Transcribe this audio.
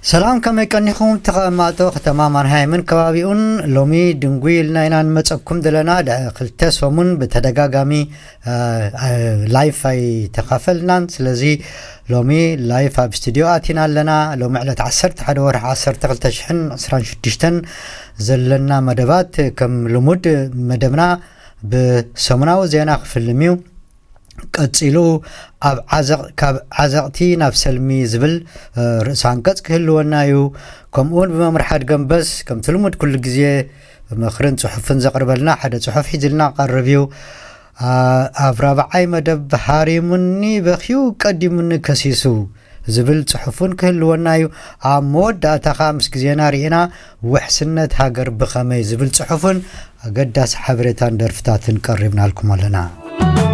ሰላም፣ ከመይ ቀኒኹም? ተቐማጦ ከተማ ማንሃይምን ከባቢኡን። ሎሚ ድንጉይ ኢልና ኢና ንመጸኩም ዘለና። ድ-፣ ክልተ ሰሙን ብተደጋጋሚ፣ እ፣ እ፣ ላይፍ ኣይተኻፈልናን። ስለዚ ሎሚ ላይፍ ኣብ ስቱዲዮ ኣቲና ኣለና። ሎሚ ዕለት ዓሰርተ ሓደ ወርሒ ዓሰርተ ክልተ ሽሕን ዕስራን ሽዱሽተን ዘለና መደባት ከም ልሙድ መደብና ብሰሙናዊ ዜና ክፍልም እዩ። ቀጺሉ ኣብ ዓዘቕ-፣ ካብ ዓዘቕቲ ናብ ሰልሚ ዝብል፣ እ፣ ርእሰ ኣንቀጽ ክህልወና እዩ። ከምኡውን ብመምርሓ ድገምበስ ከምቲ ልሙድ ኩሉ ግዜ ምኽርን ጽሑፍን ዘቕርበልና ሓደ ጽሑፍ ሒዝልና ቀርብ እዩ። ኣ-፣ ኣብ ራብዓይ መደብ ሃሪሙኒ በኽዩ ቀዲሙኒ ከሲሱ ዝብል ጽሑፍን ክህልወና እዩ። ኣብ መወዳእታ ኸኣ ምስ ግዜና ርኢና ውሕስነት ሃገር ብኸመይ ዝብል ጽሑፍን ኣገዳሲ ሓበሬታን ደርፍታትን ቀሪብናልኩም ኣለና።